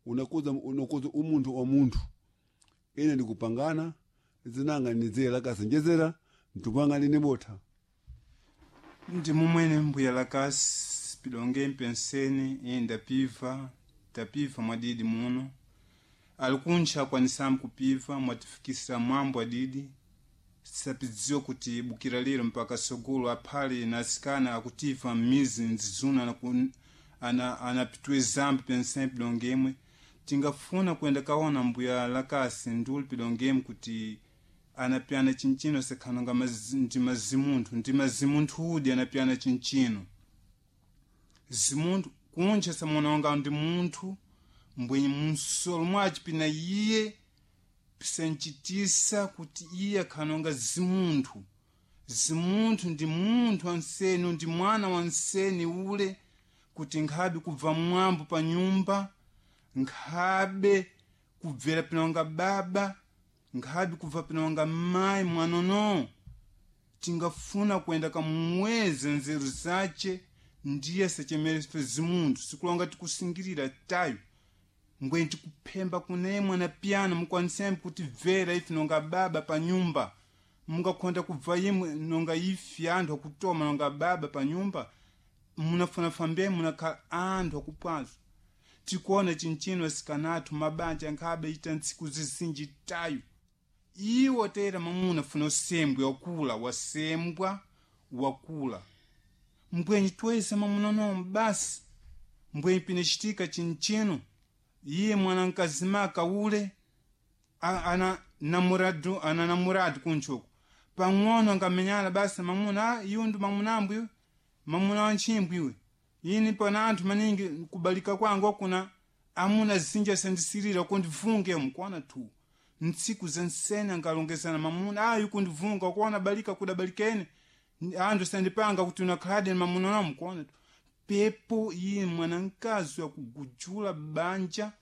Unakuza unakuza umuntu wa munthu ine ndikupangana zinanga nizera kasenjezera mtupanga line botha. Ndi mumwene mbuya lakasi pilonge mpenseni iye ndapiva tapiva mwadidi muno alikuntcha akwanisamu kupiva mwatifikisa mwambo adidi sapidziwa kuti bukira lero mpaka sogolo aphale na asikana akutiva m'mizi nzizuna anapitwe zambi penseni pilongemwe tingafuna kuyenda kaona mbuya lakasi nduli pilongemwe kuti anapyana chinchino sekhanonga ndi mazimunthu ndi mazimunthu udi anapyana chinchino zimunthu kuntcha samononga ndi munthu mbwenye munsolo mwaci pina iye pisanchitisa kuti iye akhanonga zimunthu zimunthu ndi munthu wanseni ndi mwana wanseni ule kuti nkhabe kubva mwambo pa nyumba nkhabe kubvera pinonga baba nkhabe kubva pinonga mayi mwanono tingafuna kuyenda kamuweze nzeru zace ndiye sachemerefe zimunthu sikulonga tikusingirira tayo mbweni tikuphemba kunemwe na piyano mukwanisembe kuti bvera ifi nonga baba pa nyumba mungakhonda kubva imwe nonga ifi anthu akutoma nonga baba pa nyumba munafuna fambe munakhala anthu akupwazo tikuona chinchino asikanathu mabanja nkhabe ita ntsiku zizinji tayo iwo tera mamuna funa usembwe wakula wasembwa wakula mbwenyi twese mamuna nomo basi mbwenyi pinacitika chinchino iye mwana nkazimaka ule ana namuradu ana namuradu kunchoku pang'ono angamenyana basi mamuna iwo ndi mamunambu iwe mamuna wanchimbwi iwe ini pana anthu maningi kubalika kwangu kuna amuna zinja sandisirira kundivunge mukwana tu ntsiku zensene angalongezana mamuna ayi kundivunga kuona balika kudabalikene anthu sandipanga kuti unakhalade mamuna na mukwana tu pepo iye mwanamkazi wakugujula banja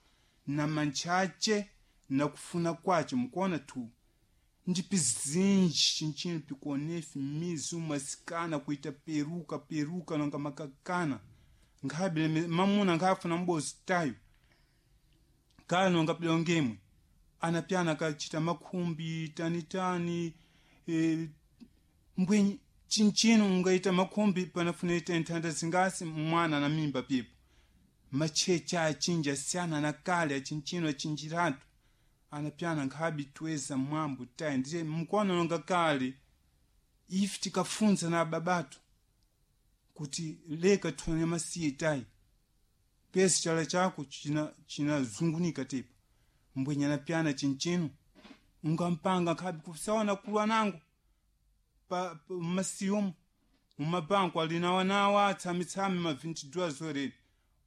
na mantchache na kufuna kwace mukuona tu ndipi zinji chinchino pikuonefi mizi umasikana kuita peruka peruka nonga makakana nkhabe mamuna nkhafuna mbozi tayo kala nonga pilongemwe anapyana akachita makhumbi tanitani e, mbwenyi chinchino ungaita makhumbi panafuna ita nthanda zingasi mwana na mimba pipo machecha achinji asiyana na kale achinchino achinjiratu anapyana nkhabi tweza mwambo tayi ndiye mkono nonga kale ife tikafunza na babatu kuti leka tufanye masiye tayi pesi chala chako chinazungunika china tepa mbwenye anapyana chinchino ungampanga nkhabi kusaona kulwa nangu pa masiyomo mumabanku alinawanawa atsamitsami ma 22 zoreni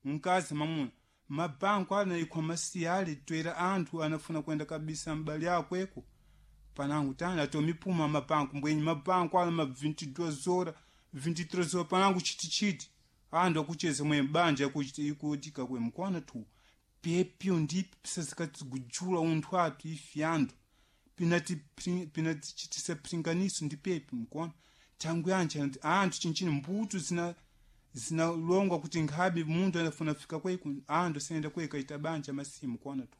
mkazi mamuna mabanku anaikwa masiya ali twera anthu anafuna kwenda kabisa mbali akweko panangu tani atomipuma mabanku mbwenye mabanku ala ma 22 zora 23 zora panangu chitichiti anthu akucheza mwe banja ikutika kwe mkwana tu pepyo ndipi pisazikatigujula unthu athu ifi anthu pinatichitisa pringaniso ndi pepi mkuona tangu yanji anthu chinchini mbuto zina zinalongwa kuti nkhabe munthu anafuna fika kweku anthu asayenda kweka ita banja masimu kuona tu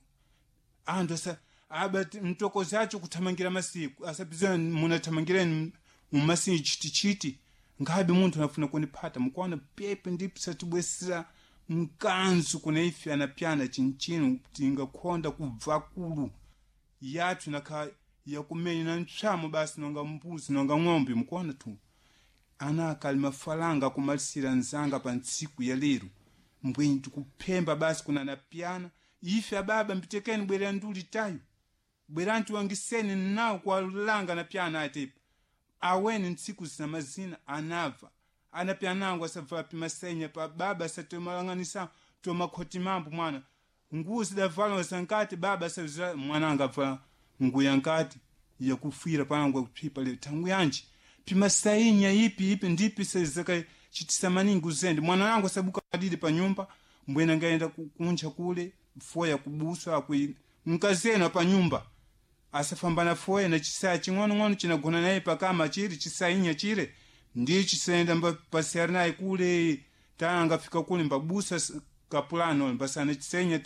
anthu asa aba mtokozi acho kuthamangira masiku asapizana munathamangireni mumasiku chitichiti nkhabe munthu anafuna kuniphata mukuona pepe ndipo satibwesera mkanzu kuna ife anapyana chinchino tingakhonda kubva kulu yathu nakha yakumenya na ntchamo basi nonga mbuzi nonga ng'ombe mukuona tu ana akali mafalanga akumalisira nzanga pa ntsiku ya lero mbwenyi tikuphemba basi kuna napyana ife ababa mbitekeni bwerera nduli tayo bwerani tiwangiseni nawo kuwalanga napyana atepa aweni ntsiku zina mazina anava anapyanango asavala pimasenya pa baba asatomalang'anisa tomakhoti mambo mwana nguo zidavala zankati baba asazira mwana angavala nguo yankati yakufira panangu akuphipa lero tangu yanji pimasainya ipi ipi ndipi sezakachitisa maningi uzende mwana wangu asabuka adidi pa nyumba mbwena ngaenda kunja kule foya kubuswa akui mkazena pa nyumba asafambana foya na chisaya ching'onong'ono chinagona naye pakama chiri chisainya chire ndiye chisayenda pasiyari naye kule tana angafika kule mbabusa kapulano mbasana chisainya